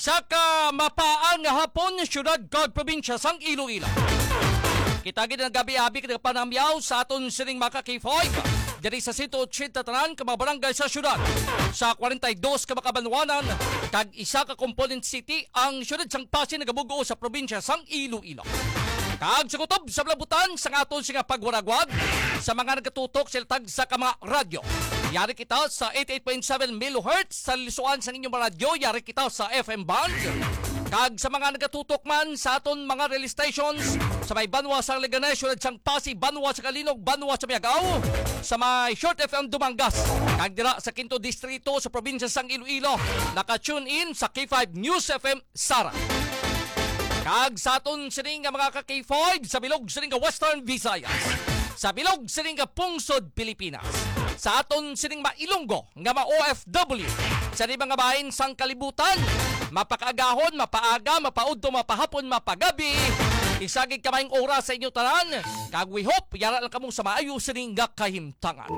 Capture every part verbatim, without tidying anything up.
Kag, ah, mapaang nga hapon, siyudad kag probinsya sang Iloilo. Kita gid ang gabi-abi kag panamyaw sa aton sining mga ka-K five diri sa sento ochenta tanan ka mga barangay sa siyudad, sa kwarenta y dos ka mga kabanwanan, kag isa ka component city ang siyudad sang Passi nagabugo sa probinsya sang Iloilo. Kag sa kutob sa palabutan sang aton sining pagwaragwag sa mga nagatutok sa tagsa ka mga radyo. Yari kita sa eighty-eight point seven megahertz sa lisuan sang inyong radyo. Yari kita sa F M band. Kag sa mga nagatutok man sa aton mga relay stations sa may banwa sa Leganes, siyudad sang Passi, banwa sa Calinog, banwa sa Miagao, sa may Short F M Dumangas, kag dira sa Quinto Distrito sa probinsya sang Iloilo, naka-tune in sa K five News F M Sara. Kag sa aton sini nga mga ka-K five sa bilog sini nga Western Visayas, sa bilog sini nga pungsod Pilipinas, sa aton sining mailunggo nga ma-O F W, sa di mga bahin sang kalibutan, mapakaagahon, mapaaga, mapaudto, mapahapon, mapagabi, isa gid ka maayong oras sa inyo tanan, kag we hope yara lang kamo sa maayo sini nga kahimtangan.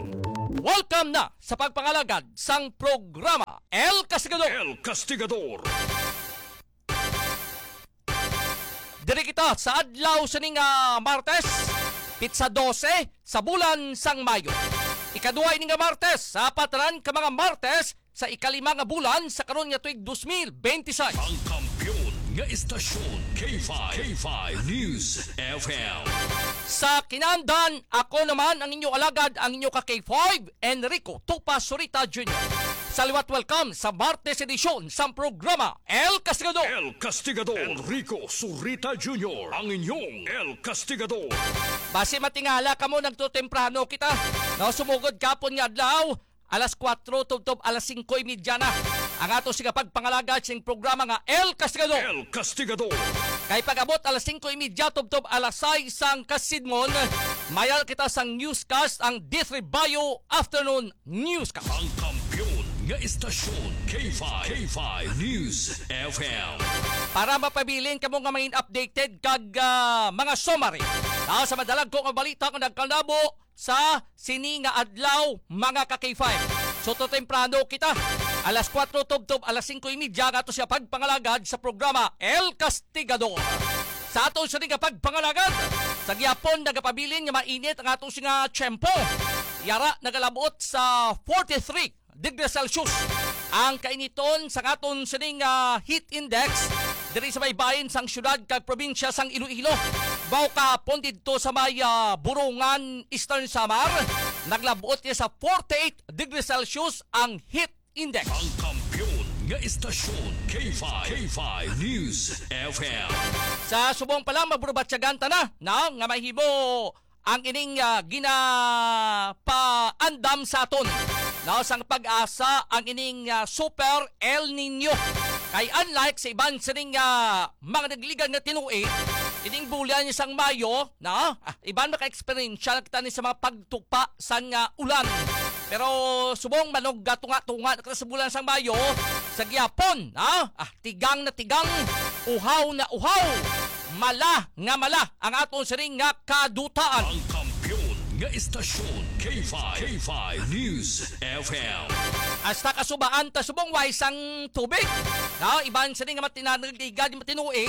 Welcome na sa pagpangalagad sang programa El Castigador. El Castigador. Diri kita sa adlaw sining, ah, Martes, pitsa dose sa bulan sang Mayo. Ikaduha ini nga Martes sa patran ka mga Martes sa ikalima nga bulan sa karon nga tuig dos mil benti seis. Ang kampiyon nga istasyon, K five, K five News F M. Sa kinandan, ako naman ang inyo alagad, ang inyo ka K five, Enrico Tupa Surita Junior. Sa liwat, welcome sa Martes edisyon sang programa El Castigador. El Castigador. Enrico Surita Junior, ang inyong El Castigador. Basi matingala kamo, nagtutemprano kita. No, sumugod kapon nga adlaw, alas kuwatro tubtob alas singko y media na ang ato sining pagpangalagad sing programa nga El Castigador. El Castigador. Kay pag-abot alas singko y media tubtob alas sais sang kasidmon, mayara kita sang newscast, ang D three Bio Afternoon Newscast. Ang kampiyon nga istasyon, K five, K five News F M. Para mapabilin kamo nga mangin updated kag, ah, mga summary, ah, sa madalagko nga balita nga nagkalabo sa sini nga adlaw, mga ka-K five. So, to temprano kita. Alas kuwatro tubtob alas singko y media nga ato sining pagpangalagad sa programa El Castigador. Sa aton sini nga pagpangalagad, sa gihapon nagapabilin nga mainit ang aton sining tiyempo. Yara nagalabot sa forty-three degrees Celsius ang kainiton sa aton sining, ah, heat index diri sa baybayon sang siyudad kag probinsya sang Iloilo. Baw kahapon didto sa may, ah, Borongan, Eastern Samar, naglabot niya sa forty-eight degrees Celsius ang heat index. Ang kampiyon nga istasyon, K five, K five News F M. Sa subong pa lang, maburbatyagan ta na, no, nga mahimo ang ining, ah, ginapaandam sa aton, no, sang PAGASA ang ining, ah, Super El Niño. Kay unlike sa iban sining, ah, mga nagligan nga tinuig, ining bulan sang Mayo, no, ah, iban maka-eksperyensya na kita ni sa mga pagtupa sang, ah, ulan. Pero subong manog gatunga-tunga na kita sa bulan sang Mayo, sa gihapon, no, ah, tigang na tigang, uhaw na uhaw, mala nga mala ang aton sining nga kadutaan. Ang kampiyon nga istasyon, K five, K five News F M. Hasta kasubaan ta subong way sang tubig. Na, iban sining nga matinanag liga di matinuig,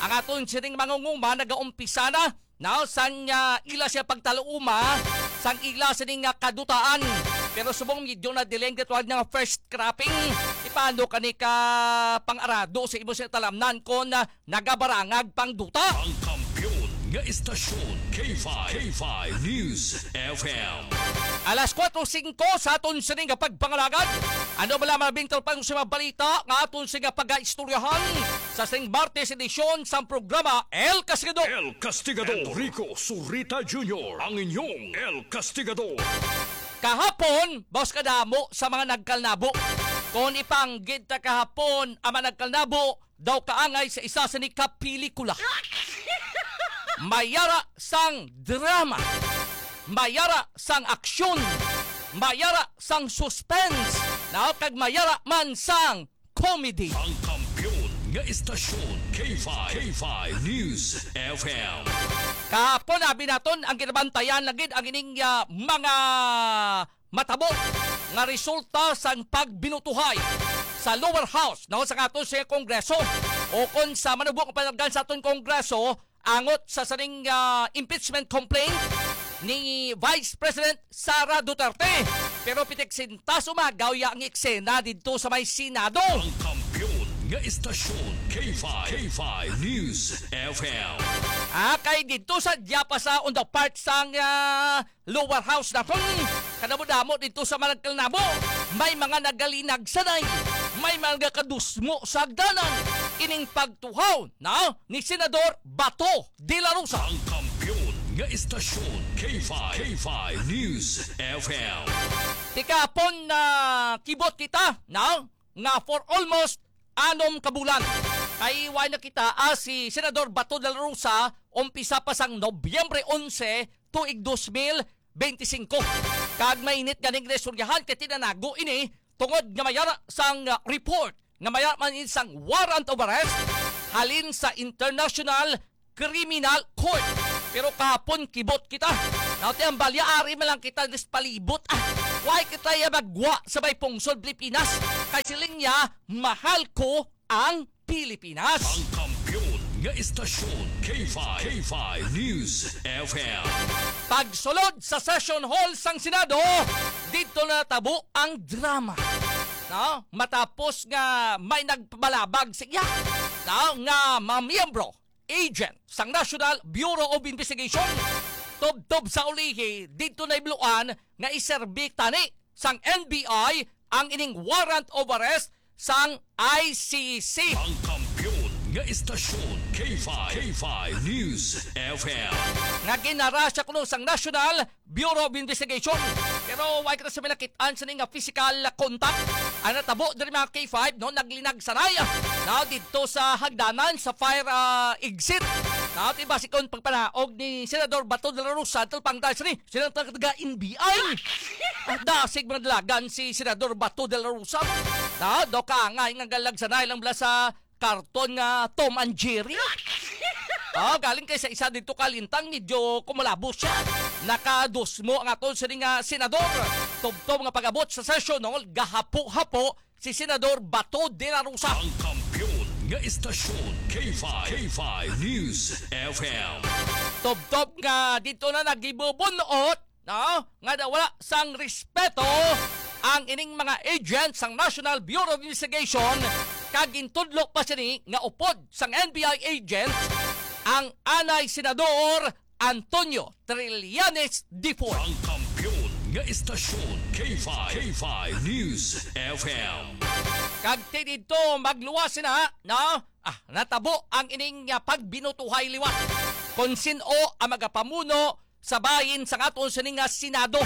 ang aton sining mangunguma nagaumpisa na Now, sang, ah, ila siya pagtaluuma, sang ila sini nga kadutaan. Pero subong medyo na delay ang ritual nga first cropping. Ipano kani ka pang-arado sa imo sini talamnan kon, ah, nagabarangag pang duta? Ang kampiyon nga istasyon, K five, K five News F M. Alas kuwatro singko sa aton sini nga pagpangalagad. Ano bala mga bintang pang sa mga balita nga aton sini nga pagaistoryahan sa sing Martes edisyon sang programa El Castigador. El Castigador. Enrico Surita Junior, ang inyong El Castigador. Kahapon, boss, kadamo sa mga nagkalnabo. Kung ipanggid ta kahapon ang mga nagkalnabo, daw kaangay sa isa sa ni ka pelikula. Mayara sang drama, mayara sang aksyon, mayara sang suspense, na kag mayara man sang comedy. Ang kampiyon nga istasyon, K five, K five News F M. Kahapon, abi naton, ang ginabantayan na gid ang ining, ah, mga matabo nga resulta sang pagbinutuhay the lower house, no, sa aton sa Kongreso, o kon sa manubo nga panalagdan sa aton Kongreso, angot sa sining, ah, impeachment complaint ni Vice President Sara Duterte. Pero pitik sintas umagaw ya ang eksena didto sa may Senado. Ang kampiyon nga istasyon, K five, K five News F M. Ah, kay didto sa Diapasa, on the part sang, ah, lower house naton, kadamo-damo didto sa Malagkalnabo, may mga nagalinag sanay, may mga kadusmo sa hagdanan. Ining pagtuhaw na ni Senador Bato de la Rosa. Ang kampiyon nga istasyon, K five, K five News F M. Tikapon na kibot kita, no? Nga for almost anom ka bulan, kay wa na kita, ah, si Senador Bato de la Rosa, umpisa pa sang Nobyembre onse, tuig dos mil benti singko. Kag mainit ganing naistoryahan kay tinanago ini tungod nga mayara sang, ah, report nga mayara man ini sang warrant of arrest halin sa International Criminal Court. Pero kahapon kibot kita. Now, ti ang balya, ari man lang kita nagpalibot. Ah, why kita ya magwa sa may pungsod Pilipinas? Kay siling niya, mahal ko ang Pilipinas. Ang kampiyon nga istasyon, K five, K five News F M. Pagsulod sa session hall sang Senado, dito na natabo ang drama. No? Matapos nga may nagpabalabag sa iya, no, nga mga miyembro, agent sang National Bureau of Investigation, tubtob sa ulihi, dito na ibluan nga iserbi tani sang N B I ang ining warrant of arrest sang I C C. Ang kampiyon nga istasyon, K five, K five News F M. Nga ginara siya kuno sang National Bureau of Investigation. Pero wala kita sa may nakit-an sa nga physical contact. Ang natabo diri, mga K five, no, naglinag sanay, no, dito sa hagdanan sa fire, ah, exit. No, ti basi kon pagpanaog ni Senador Bato de la Rosa, talpang tayo ni Senador taga N B I. Ah, dasig madalagan si Senador Bato de la Rosa. No, do ka nga nga galag sanay lang bala sa karton nga Tom and Jerry. Oh, galing kay sa isa dito kalintang, medyo kumalabo siya. Nakadusmo ang aton sini nga senador. Tubtob nga pag-abot sa session, no, gahapo-hapo si Senador Bato de la Rosa. Ang kampiyon nga istasyon, K five, K five News F M. Tubtob nga dito na nagibubunot, no, nga nawala sang respeto ang ining mga agent sang National Bureau of Investigation, kag gintudlo pa sini nga upod sang N B I agent ang anay Senador Antonio Trillanes the fourth. Ang kampiyon nga istasyon, K five, K five News F M. Kag ti didto magluwas na, no? Ah, natabo ang ining, ah, pagbinutuhay liwat. Kon sin-o ang magapamuno sa bahin sang aton sini nga Senado,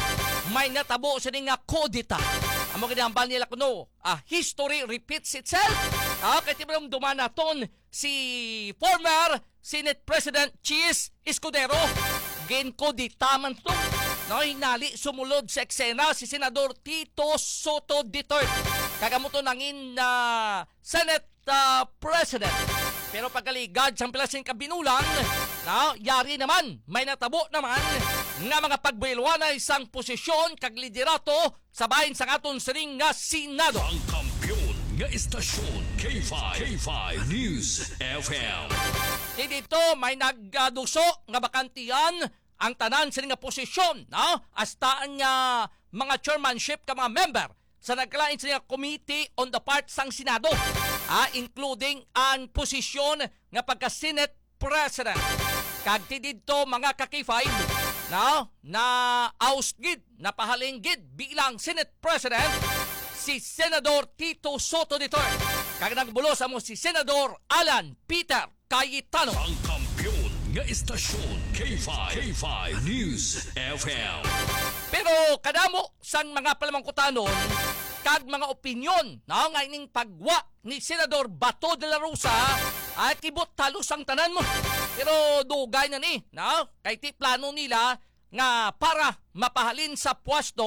may natabo sini nga kudeta. Amo gid ang hambal nila kuno, ah, history repeats itself. Ah, kay ti malumduman naton si former Senate President Chiz Escudero, ginkudeta man to. No, hinali sumulod sa eksena si Senador Tito Sotto the third. Kag amo to nangin, ah, Senate, ah, President. Pero pagkaligad sang pila sing kabinulan, na yari naman, may natabo naman nga mga pagbuilwanay sang posisyon kag liderato sa bahin sang aton sining nga Senado. Ang kampiyon nga istasyon, K five, K five News F M. Ti dito may nagduso nga bakantihan ang tanan sini nga posisyon, no? Hasta ang, ah, mga chairmanship ka mga member sa nagkalain sini nga committee on the part sang Senado, ah, including ang posisyon nga pagka-Senate President. Kag ti didto, mga ka-K five, no, na oust gid, napahalin gid bilang Senate President si Senador Tito Sotto the third. Kag nagbulos amo si Senador Alan Peter Cayetano. Ang kampiyon nga istasyon, K five, K five News F M. Pero kadamo sang mga palamangkutanon kag mga opinyon, no, nga ining pagwa ni Senador Bato de la Rosa, ay kibot halos ang tanan mo. Pero dugay na ni, no? Kay ti plano nila nga para mapahalin sa pwesto,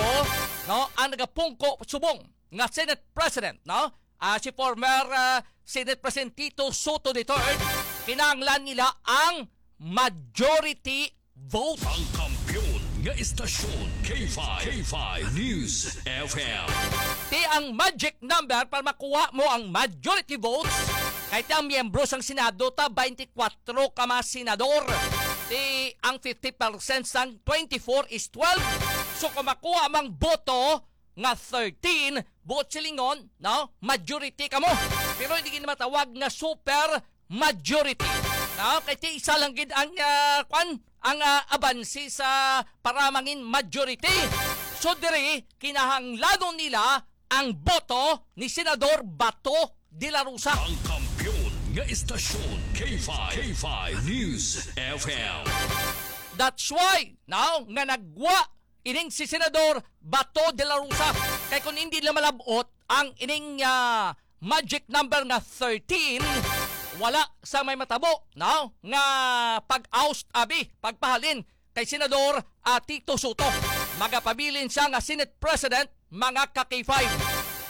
no, ang nagapungko subong nga Senate President, no? Ah, si former, ah, Senate President Tito Sotto the third, kinahanglan nila ang majority vote. Ang kampiyon nga istasyon, K five, K five News F M. Ti ang magic number para makuha mo ang majority votes. Kay ti ang miyembro sang Senado ta, twenty-four ka mga senador. Ti ang fifty percent sang twenty-four is twelve. So kung makuha mang boto nga thirteen, buot silingon, no? Majority kamo. Pero hindi gid matawag nga super majority. No? Kay ti isa lang gid ang, ah, kwan, ang, ah, abansi sa para mangin majority. So diri, kinahanglanon nila ang boto ni Senador Bato de la Rosa. Ang kampiyon nga istasyon, K five, K five News F M. That's why, no, nga nagwa ining si Senador Bato de la Rosa. Kay kung hindi nila malab-ot ang ining, ah, magic number nga thirteen, wala sa may matabo, no? Nga pag-oust, abi, pagpahalin kay Senador, ah, Tito Soto. Magapabilin siya nga Senate President, mga ka K five.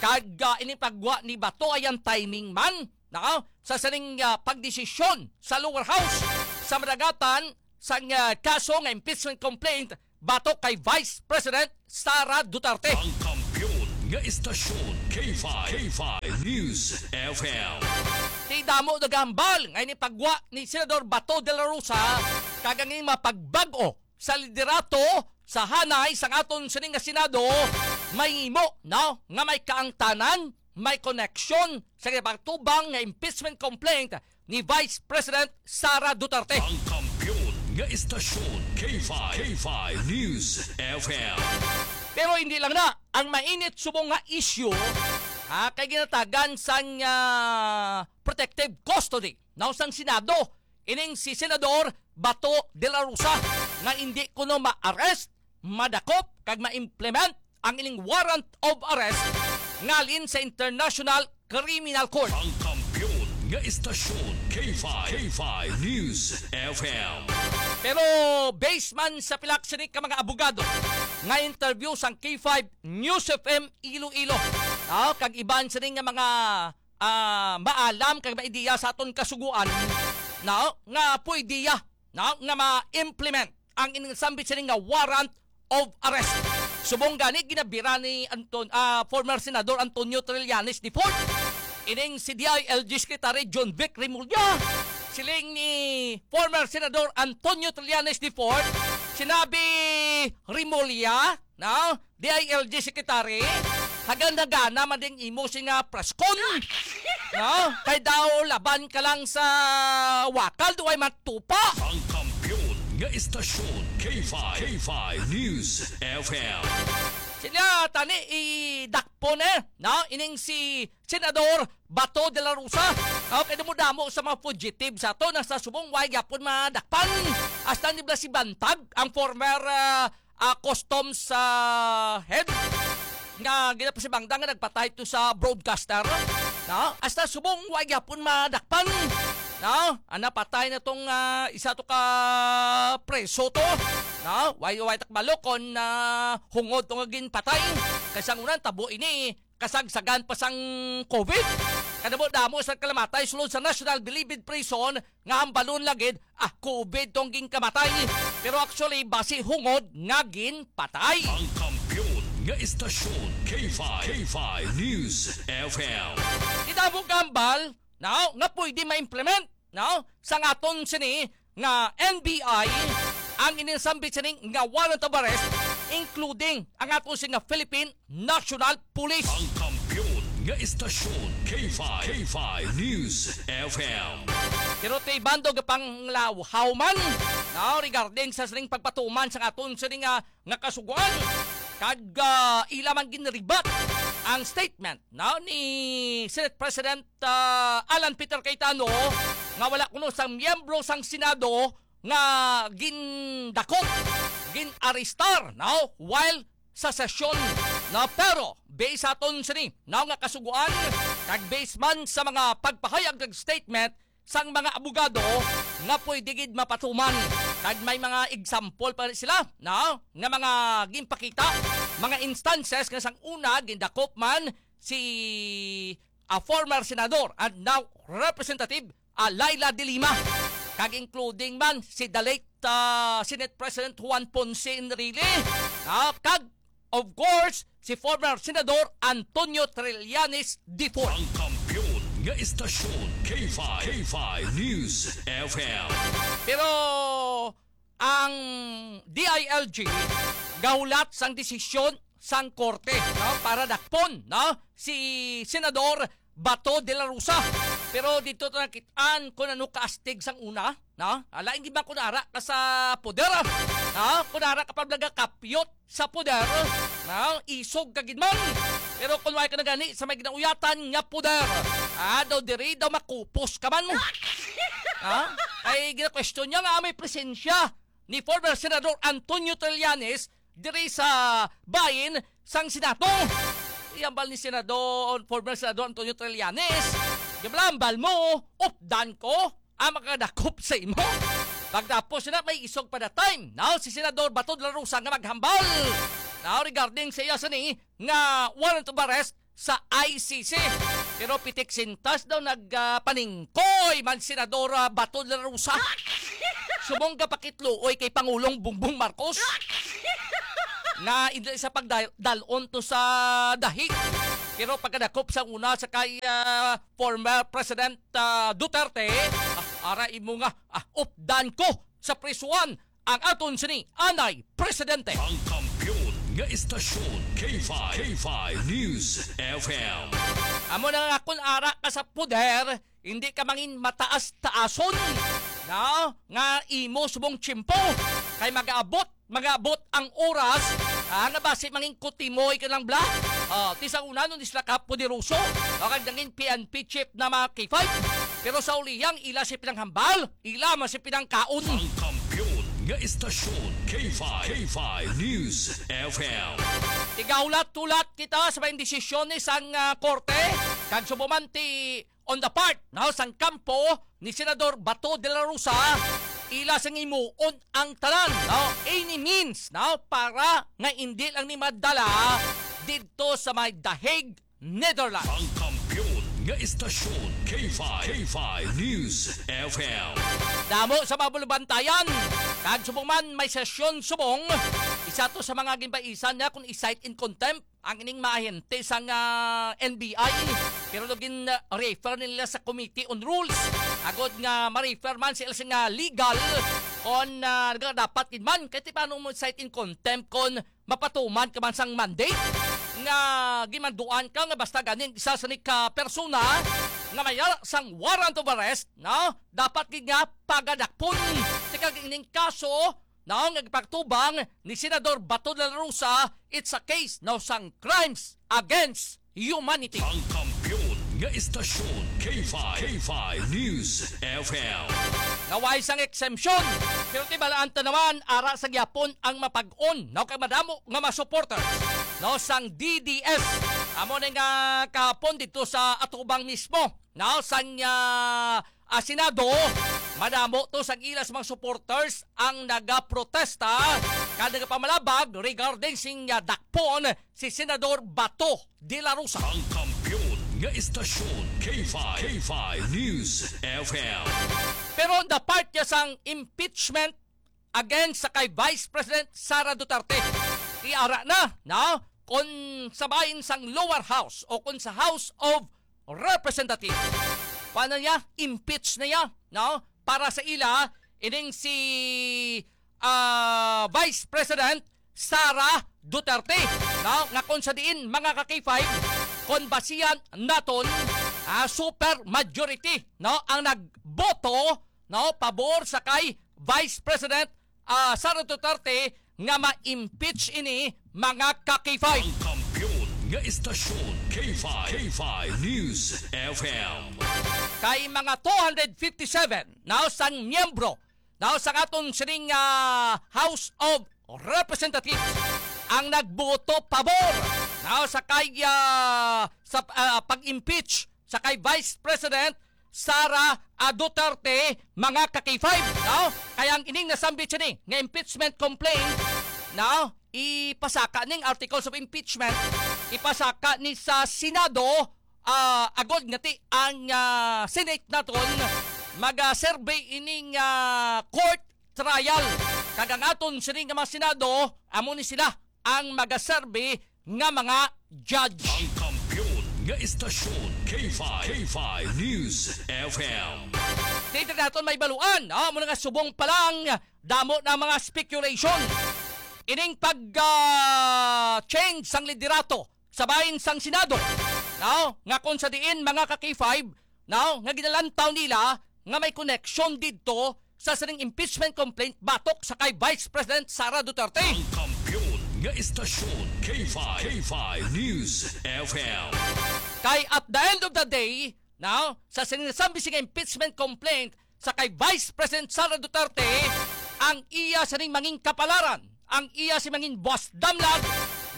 Kag, ah, ining pagwa ni Bato ay ang timing man, no? Sa sining, ah, pagdesisyon sa lower house sa madagatan sang, ah, kaso nga impeachment complaint batok kay Vice President Sara Duterte. Ang kampiyon nga istasyon, K five, K five News F M. Ti damo nagahambal nga ini pagwa ni Senador Bato de la Rosa kag ang mga pagbag-o sa liderato sa hanay sang aton sining nga Senado mahimo, no, nga may kaangtanan, may koneksyon sa ginapatubang nga impeachment complaint ni Vice President Sara Duterte. Ang kampiyon nga istasyon, K five, K five News F M. Pero hindi lang na ang mainit subong nga issue, ha, kay ginatagan sang, ah, protective custody, no, sang Senado ining si Senador Bato de la Rosa nga hindi kuno ma-arrest, madakop kag ma-implement ang ining warrant of arrest ngalin sa International Criminal Court. Ang kampiyon nga istasyon, K five, K five News F M. Pero based man sa pila sini ka mga abogado nga interview sang K five News F M Iloilo, ah, kag iban sini nga mga, ah, maalam kag maidiya sa aton kasugoan, no, nga pwede ya, no, nga ma-implement ang ining sambit sini nga warrant of arrest. Subong gani, ginabira ni Anton-, ah, former Senador Antonio Trillanes the fourth ining si D I L G Secretary John Vic Remulla. Siling ni former Senador Antonio Trillanes the fourth, sinabi Remulla, no, D I L G Secretary, hagan-hagana man ding imo sing nga press con. No? Kay daw laban ka lang sa wakal, di way matupa. Ang kampiyon nga istasyon, K five, K five News F M. Sila tani idakpon, eh, no? Ining si Senador Bato de la Rosa. Okay, damo-damo sa mga fugitive sa ato, nasa subong, way gyapon madakpan. Hasta ni Blas Ibantag, ang former, ah, ah, customs, ah, head nga ginapasibangdan nga nagpatay to sa broadcaster, no? Hasta subong, way gyapon madakpan, no? Ang napatay na tong, ah, isa to ka preso to, no? Way, way takbalo kon, ah, hungod to nga ginpatay. Kay sang una, tabo ini, kasagsagan pa sang COVID. Kadamo-damo sa kalamatay sulod sa National Bilibid Prison nga hambalon lang gid, ah, COVID tong ginkamatay. Pero actually, basi hungod nga ginpatay. Ang kampiyon nga istasyon, K five, K five News F M. Di damo gambal, no, nga pwede ma-implement, no, sang aton sini nga N B I ang ining sambit sini nga warrant of arrest, including ang aton sini nga Philippine National Police. Ang kampiyon nga istasyon, K five, K five News F M. Pero ti bando gapanglawhaw man, no, regarding sa sining pagpatuman sa aton sini nga, nga kasugoan, kag, ah, ila man ginribat ang statement, no, ni Senate President, ah, Alan Peter Cayetano nga wala kuno sang miyembro sang Senado nga gindakop, gin-arestar, no, while sa sesyon, no? Pero based sa aton sini, no, nga kasugoan, kag based man sa mga pagpahayag kag statement sang mga abogado nga pwede gid mapatuman, kag may mga example pa sila, no, nga mga ginpakita, mga instances nga sang una gindakop man si, ah, former senador and now Representative, ah, Leila de Lima, kag including man si the late ah, Senate President Juan Ponce Enrile, ah, kag, of course, si former Senador Antonio Trillanes the fourth. Ang kampiyon nga istasyon, K five, K five News F M. Pero ang D I L G gahulat sang desisyon sang korte, no, para dakpon, no, si Senador Bato de la Rosa. Pero dito to nakit-an kung ano kaastig sang una, no? Alain gid man kung ara ka sa poder, no? Kung ara ka pa nagakapyot sa poder, no? Isog ka gid man. Pero kung wala ka na gani sa may ginauyatan nga poder, ah, daw diri daw makupos ka man. Ha? Ay gina-question niya nga may presensya ni former Senador Antonio Trillanes diri sa bahin sang Senado. Iyambal ni Senador, former Senador Antonio Trillanes, "Gibalambal mo, updan ko ang makadakop sa imo." Pagtapos na, may isog pa that time, now si Senador Bato de la Rosa nga maghambal, now regarding sa iya sini nga warrant of arrest sa I C C. Pero pitik sintas daw nagpaningkoy man Senadora Bato de la Rosa. Subong ka pakitluoy kay Pangulong Bongbong Marcos nga indi sa pagdal-on to sa dahig. Pero pagkadakop sa una sa kay, ah, former President, ah, Duterte, ah, ara imo nga, ah, updan ko sa prisuan ang aton sini anay presidente. Ang kampiyon nga istasyon, K five, K five News F M. Amo na nga, kun ara ka sa poder, hindi ka mangin mataas-taason, no? Nga imo subong tiyempo kay mag-abot, mag-abot ang oras, ah, nga basi mangin kutimoy ka lang bla. Ah, ti sa una, nun sila ka poderoso, o kag nangin P N P chief na mga K five. Pero sa ulihang ila si pinanghambal, ila man si pinangkaon. Ang kampiyon nga istasyon, K five, K five News F M. Tigahulat-hulat kita sa mga desisyon ni sang, ah, korte, kag subuman ti on the part, no, sang kampo ni Senador Bato de la Rosa, ila sang himuon ang tanan, no, any means, no, para nga indi lang ni madala didto sa may The Hague, Netherlands. Ang kampiyon nga istasyon, K five, K five News F M. Damo sa mga bulubantayan, kag subong man may sesyon subong, isa to sa mga ginbaisan niya kung i-cite in contempt ang ining mga ahente sang, ah, N B I, pero daw gin-refer nila sa Committee on Rules agod nga ma-refer man sila sa nga legal kon, ah, dapat gid man kay ti paano mo cite in contempt kon mapatuman ka man sang mandate nga gimanduan ka nga basta ganing isa sa nika persona nga may ara sang warrant of arrest, no? Dapat gid nga pagadakpon. Ti kag ining kaso, no, nga gipagtubang ni Senador Bato de la Rosa, it's a case, no, sang crimes against humanity. Ang kampiyon nga istasyon, K five, K five News F M. Naway sang exemption, pero tibalaan ta naman, ara sa gyapon ang mapag-on, no, kay madamo nga mga supporters, no, sang D D S. Amo na nga kahapon dito sa atubang mismo, no, sang, ah, ah, Senado, madamo to sa ila sa mga supporters ang nagaprotesta kag nagapamalabag regarding sing, ah, dakpon si Senador Bato de la Rosa. Ang kampiyon nga istasyon, K five, K five News F M. Pero on the part niya sang impeachment against sa kay Vice President Sara Duterte, iara na, no? Kung sa bahin sang lower house o kung sa House of Representatives, paano niya? Impeach na niya, no? Para sa ila, ining si, ah, Vice President Sara Duterte, no? Nga kung sa diin, mga ka-K five, kung basihan naton, ah, super majority, no? Ang nagboto, no, pabor sa kay Vice President, ah, Sara Duterte nga ma-impeach ini, mga ka-K five. Ang kampiyon nga istasyon, K five, K five News F M. Kay mga two hundred fifty-seven na sang miyembro na sang aton sining, ah, House of Representatives ang nagboto pabor na sa kay, ah, sa, ah, pag-impeach sa kay Vice President Sara, ah, Duterte, mga ka-K five, no? Kaya ang ining nasambit siya ni nga impeachment complaint, no? Ipasaka ning articles of impeachment, ipasaka ni sa Senado, ah, agod nga ti ang, ah, Senate naton mag-survey ining, ah, court trial. Kag ang aton sini nga mga Senado, amo ni sila ang magaserbi nga mga judge. Ang kampiyon nga istasyon, K five, K five News F M. Dito naton may baluan, ah, muna nga subong pa lang, damo na mga speculation. Ining pag, ah, change sang liderato sa bahin sang Senado, no? Nga kung sa diin, mga ka-K five, no? Nga ginalantaw nila nga may connection didto sa sining impeachment complaint batok sa kay Vice President Sara Duterte. Ang kampiyon nga istasyon, K five, K five News F M. Kay at the end of the day, no, sa sining nasambi sing impeachment complaint sa kay Vice President Sara Duterte, ang iya sining mangin kapalaran, ang iya si mangin buwas damlag,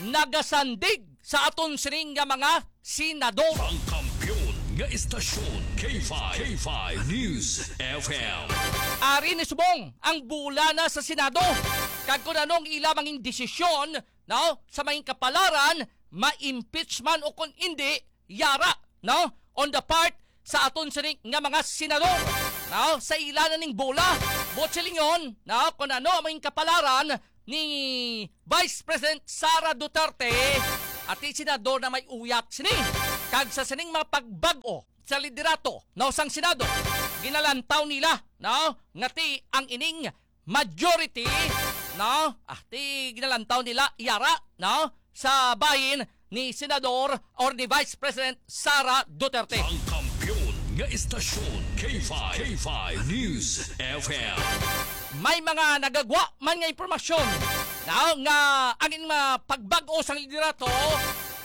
nagasandig sa aton sining nga mga senador. Ang kampiyon nga istasyon, K five, K five News F M. Ari ni subong ang bola na sa Senado. Kag kung ano ang ila mangin desisyon, no, sa mangin kapalaran, ma-impeach man o kung hindi, yara, no, on the part sa aton sini nga mga senador, no, sa ila na ning bola. Buot silingon, no, kung ano ang mangin kapalaran ni Vice President Sara Duterte, ati senador na may uyat sini. Kag sa sining mga pagbag-o sa liderato, no, sang Senado, ginalantaw nila, no, nga ti ang ining majority, no, ati ginalantaw nila yara, no, sa bahin ni Senador or ni Vice President Sara Duterte. Ang kampiyon nga istasyon, K five, K five News F M. May mga nagagwa man nga impormasyon, no, nga ang in-, mga pagbag-o sang liderato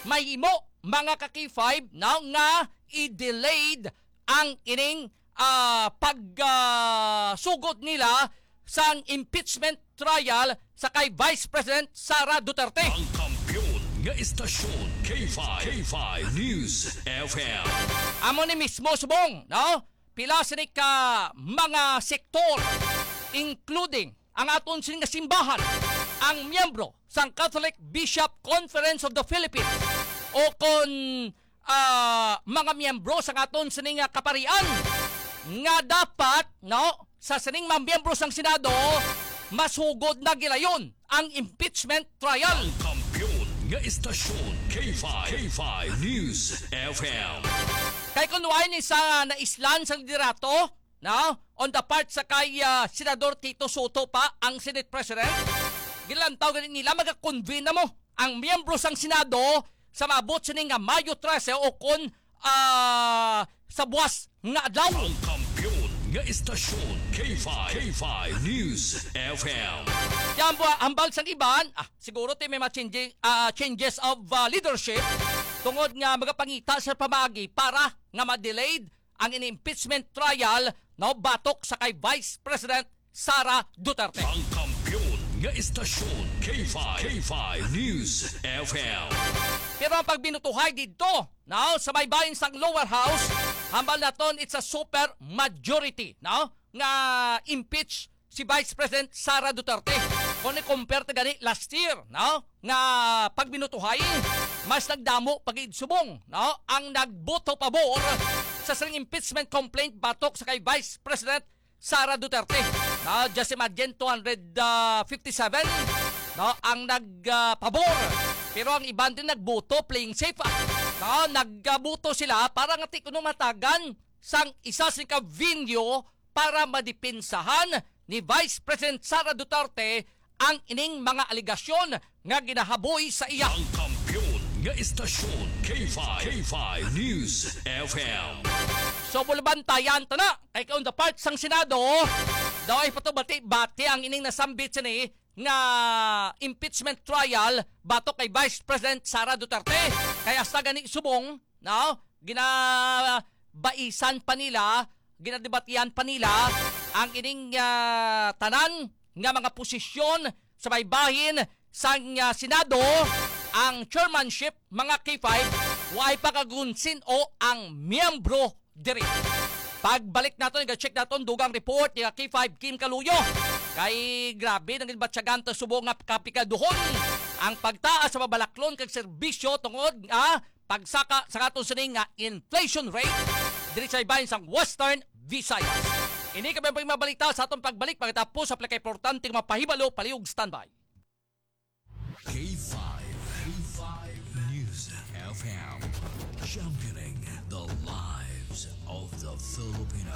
mahimo, mga ka-K five, no, nga i-delayed ang ining, ah, pag, ah, sugod nila sang impeachment trial sa kay Vice President Sara Duterte. Ang kampiyon nga istasyon, K five, K five News F M. Amo ni mismo subong, no? Pila sini ka mga sektor, including ang aton sini nga simbahan, ang miyembro sang Catholic Bishop Conference of the Philippines, o kon, ah, mga miyembro sang aton sini nga kaparian, nga dapat, no, sa sining mga miyembro sang Senado, masugod na gilayon ang impeachment trial. Ang kampiyon nga istasyon, K five, K five News F M. Kay kun wala ni sa naislan sa liderato, no, on the part sa kay, ah, Senador Tito Sotto pa, ang Senate President, gilantaw gani nila, magakonvene na mo ang miyembro sang Senado sa maabot sini nga Mayo trese o kon, ah, sa buwas nga adlaw. Ang kampiyon nga istasyon, K five, K five News F M. Yan po, hambal sang iban, ah, siguro ti may mga changing, ah, changes of, ah, leadership tungod nga magapangita sa pamaagi para nga ma-delayed ang ini impeachment trial, no, batok sa kay Vice President Sara Duterte. Ang kampiyon nga istasyon, K five, K five News F M. Pero ang pagbinutuhay didto, no, sa may bahin sang lower house, hambal naton it's a super majority, no, nga impeach si Vice President Sara Duterte. Kung i-compare ta gani last year, no, nga pagbinutuhay, mas nagdamo pa gid subong, no, ang nagboto pabor sa sining impeachment complaint batok sa kay Vice President Sara Duterte. No, just imagine, two hundred fifty-seven, no, ang nag, ah, pabor. Pero ang iban din nagboto playing safe, ah. No, nagboto sila para nga ti kuno matagan sang isa sing ka venue para madipinsahan ni Vice President Sara Duterte ang ining mga alegasyon nga ginahaboy sa iya. Ang kampiyon nga istasyon, K five, K five News F M. So, bulabantayan ta na, kay on the part sang Senado, daw ay patubati-bati ang ining nasambit sini nga impeachment trial batok kay Vice President Sara Duterte. Kay hasta gani subong, no, ginabaisan pa nila, ginadebatihan pa nila ang ining, ah, tanan nga mga posisyon sa may bahin sang, ah, Senado, ang chairmanship, mga K five, way pa kagunsin o ang miyembro diri. Pagbalik naton, i-check naton dugang report ni K five Kim Kaluyo. Kay grabe, naging batyagan ta subong nga kapikaduhon ang pagtaas sa mabalaklon kag serbisyo tungod nga pagsaka sa aton sining nga inflation rate diri sa ibahin sang Western Visayas. Ini kami ang mga balita sa atong pagbalik pagkatapos sa pinakaimportante nga mga pahibalo, palihog standby. K five, K five News F M, championing the lives of the Filipino.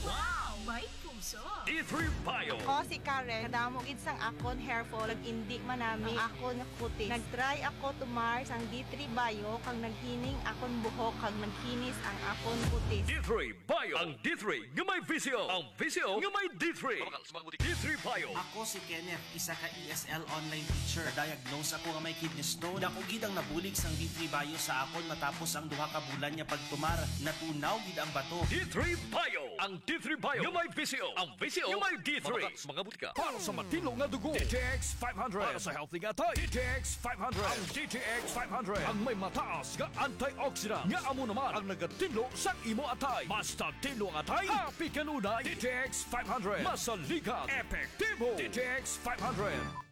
Wow! May puso! D three Bio. Ako si Karen. Kadamo gid sang akon hair fall, nag-indi man nami ang akon kutis. Nag-try ako tumar sang D three Bio, kag naghining akon buhok, kag naghinis ang akon kutis. D three Bio. Ang D three nga may V C O. Ang V C O nga may D three. D three Bio. Ako si Kenneth, isa ka E S L online teacher. Na-diagnose ako nga may kidney stone. Dako gid ang nabulig sang D three Bio sa akon matapos ang duha ka bulan nga pagtumar. Natunaw gid ang bato. D three Bio. Ang D three Bio nga may V C O. Ang V C O nga may D three. Mga butika. Para sa matinlo nga dugo, D T X five hundred. Para sa healthy nga atay, D T X five hundred. Ang D T X five hundred ang may mataas nga antioxidant nga amo naman ang nagatinlo sang imo atay. Basta tinlo ang atay, happy kanunay. D T X five hundred. Masaligan, epektibo. D T X five hundred.